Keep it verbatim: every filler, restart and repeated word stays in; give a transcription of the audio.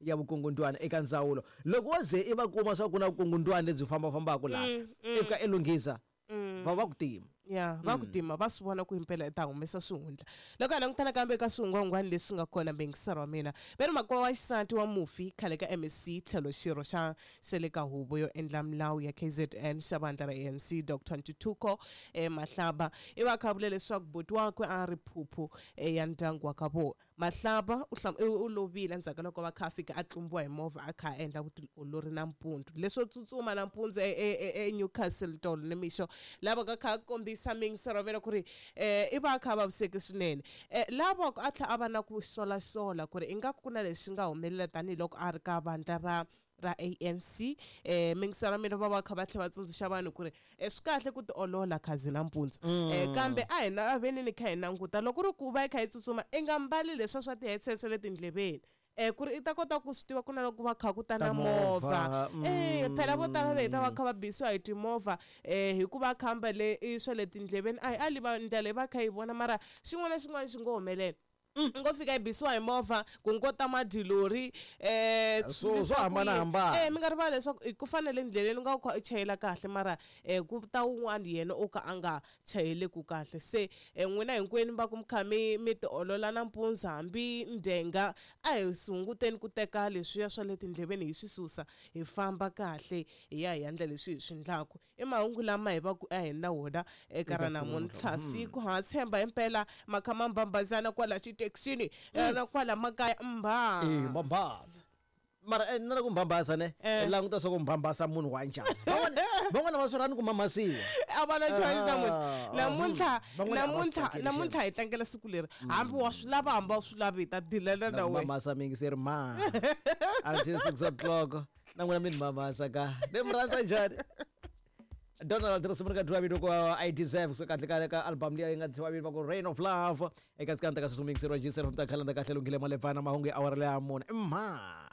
ya vukungundwani eka ndzawulo. Loko wo ze i va kuma swa ku na vukungundwani lebyi fambafambaka laha i fika i lunghisa va va ku tima. Ya va ku tima va swi vona ku impela i ta humesa swihundla. Loko hi langutana kambe eka swihungwahungwani leswi nga kona bengisara wa mina ve ri makwavo wa xisati wa mufi khale ka M S C tlhelo xirho xa xa le ka huvo yo endla milawu ya K Z N xa vandla ra A N C Doctor Ntuthuko eh, Mahlaba i va kha vule leswaku buti wakwe a ri phuphu eh, ya ndyangu wa ka vona. Mahlaba u hlam-, u lovile endzhaku ka loko va kha a fika a tlumbiwa hi movha a kha a endla vutiolori nampundzu leswo tsutsuma nampundzu e, e, e, e Newcastle tolo nimixo lava ka kha kombisa mingisero vela ku ri eh, i va kha vaviseki swinene. Eh, lava ku a tlhela a va na ku solasola ku ri ingaku ku na leswi nga humelela tanihiloko a ri ka vandla ra ra A N C. Eh, mingisero mina va va kha va tlhela va tsundzuxa vanhu ku ri, eh, swi kahle ku tiolola khazi nampundzu. Mm. Eh, kambe a hi na veni ni kha hi languta loko ri ku va yi kha yi tsutsuma i nga mbali leswiya swa ti-headset swa le tindleveni. Eh, ku ri i ta kota ku swi tiva ku na loko va kha ku ta na Ta movha. movha. Eh, phela vo tala va heta va Mm. kha va bisiwa hi timovha, eh, hikuva khamba le i swa le tindleveni. A hi ali va ndlela leyi va kha yi vona mara xin'wana na xin'wana xi ngo humelela. Mm. Ngo fika yi bisiwa hi movha ku ngo ta madilori, eh, Swo, swi swo hambana hambana. Eh, mi nga rivali leswaku i ku fanele endleleni u nga kha u chayela kahle mara, eh, ku ta wun'wana yena o ka a nga chayeleku kahle. Se, eh, n'wina hinkwenu va ku mi kha mi, mi tiolola nampundzu hambi ndzhenga a hi hunguteni ku teka leswiya swa le tindleveni hi swi susa hi famba kahle hi ya hi endla leswi hi swi endlaku. I mahungu lama hi va ku a hi na wona eka ra Eka namuntlha. siku. Siku ha tshemba himpela makha ma mbambazana kwala xithekisini, Mm. na kwala makaya mbha. Eh, mbambasa. Mara, eh, na ku mbambasa ne, Eh. languta swa ku mbambasa munhu wa njhani. Van'wana, van'wana va swi rhandzi ku mamasiwa. A va na choice namuntlha. Ah, Namuntlha, mm. Van'wana a va swi namuntlha, tsakeli namuntlha xana. hi tlangela siku leri. Hambi wa swi lava, hambi a wu swi lavi, hi ta dilela na Na ku wena. mamasa mingi se ri ma. Until six o'clock. Na n'wina mi ni mamasa ka. Ni mi rhandza njhani? Donald risimu ri nga dyiwa vito ku I Deserve kusuka kahle ka ka album liya yi nga dyiwa vito va ku Rain of Love eka tsikanta ka sweswi mixer wa G seven ta khalanda kahle lunghile malevana mahungu ya awara leya mune. Mha.